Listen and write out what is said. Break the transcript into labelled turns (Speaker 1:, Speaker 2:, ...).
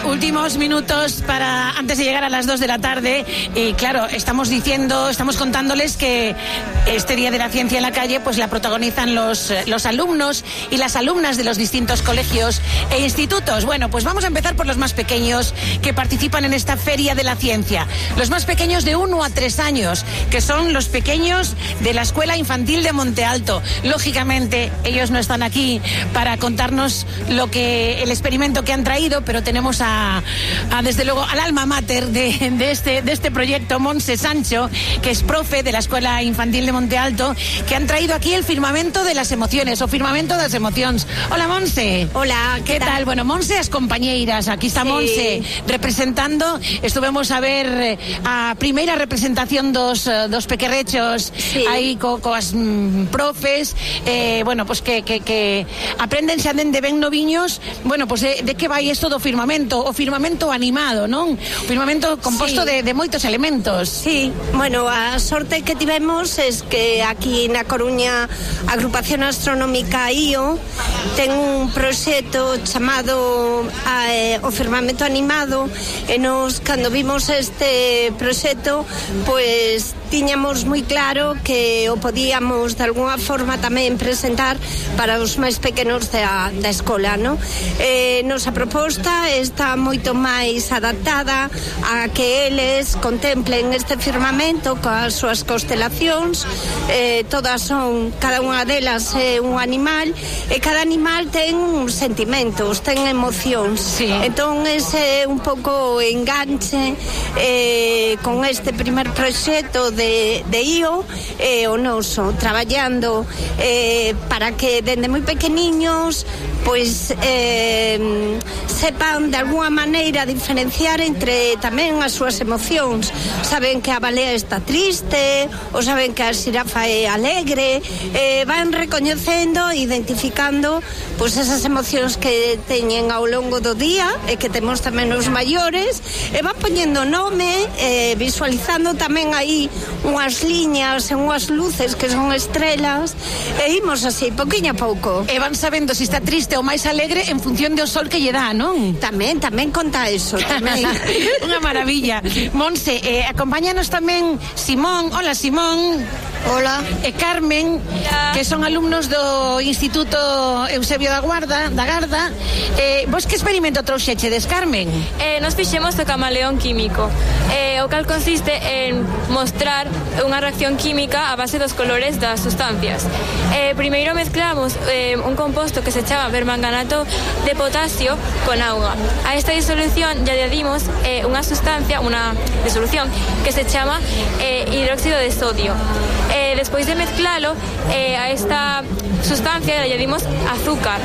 Speaker 1: Últimos minutos para antes de llegar a las 2 de la tarde y claro, estamos contándoles que este Día de la Ciencia en la Calle pues la protagonizan los alumnos y las alumnas de los distintos colegios e institutos. Bueno, pues vamos a empezar por los más pequeños que participan en esta Feria de la Ciencia. Los más pequeños de 1 a 3 años, que son los pequeños de la Escuela Infantil de Monte Alto. Lógicamente, ellos no están aquí para contarnos el experimento que han traído, pero tenemos desde luego al alma mater de este proyecto, Montse Sancho, que es profe de la Escuela Infantil de Monte Alto, que han traído aquí el firmamento de las emociones, o firmamento das emocións. Hola, Montse.
Speaker 2: Hola,
Speaker 1: ¿qué tal? Bueno, Montse, as compañeiras, aquí está Montse representando, estuvemos a ver a primeira representación dos pequerrechos aí coas profes, bueno, pues que aprenden xa dende ben noviños, bueno, pues de que vai isto do firmamento, o firmamento animado, non? O firmamento composto de moitos elementos.
Speaker 2: Sí, bueno, a sorte que tivemos es que aquí na Coruña a Agrupación Astronómica IO ten un proxecto chamado o firmamento animado e nos, cando vimos este proxecto, pues tiñamos moi claro que o podíamos de alguna forma tamén presentar para os máis pequenos da escola, non? Nosa proposta está moito máis adaptada a que eles contemplen este firmamento coas súas constelacións, todas son, cada unha delas é un animal e cada animal ten sentimentos, ten emocións.
Speaker 1: Sí.
Speaker 2: Entón ese é un pouco o enganche con este primer proxecto de IO o noso, traballando para que dende moi pequeniños pois sepan de alguna maneira diferenciar entre tamén as súas emocións. Saben que a balea está triste, ou saben que a xirafa é alegre, van recoñecendo, identificando pois esas emocións que teñen ao longo do día e que temos tamén os maiores, e van poñendo nome, visualizando tamén aí unhas liñas e unhas luces que son estrelas, e imos así, pouquiño a pouco.
Speaker 1: E van sabendo se está triste ou máis alegre en función do sol que lle dá, non?
Speaker 2: Tamén conta eso, tamén.
Speaker 1: Unha maravilla. Montse, acompáñanos tamén Simón. Hola, Simón.
Speaker 3: Hola.
Speaker 1: E Carmen, que son alumnos do Instituto Eusebio da Garda. Vos que experimento trouxechedes, Carmen?
Speaker 4: Nos fixemos o camaleón químico, o cal consiste en mostrar unha reacción química a base dos colores das sustancias. Primeiro mezclamos un composto que se chama permanganato de potasio con auga. A esta disolución ya añadimos unha disolución que se chama hidróxido de sodio. Despois de mezclalo, a esta sustancia le añadimos azúcar.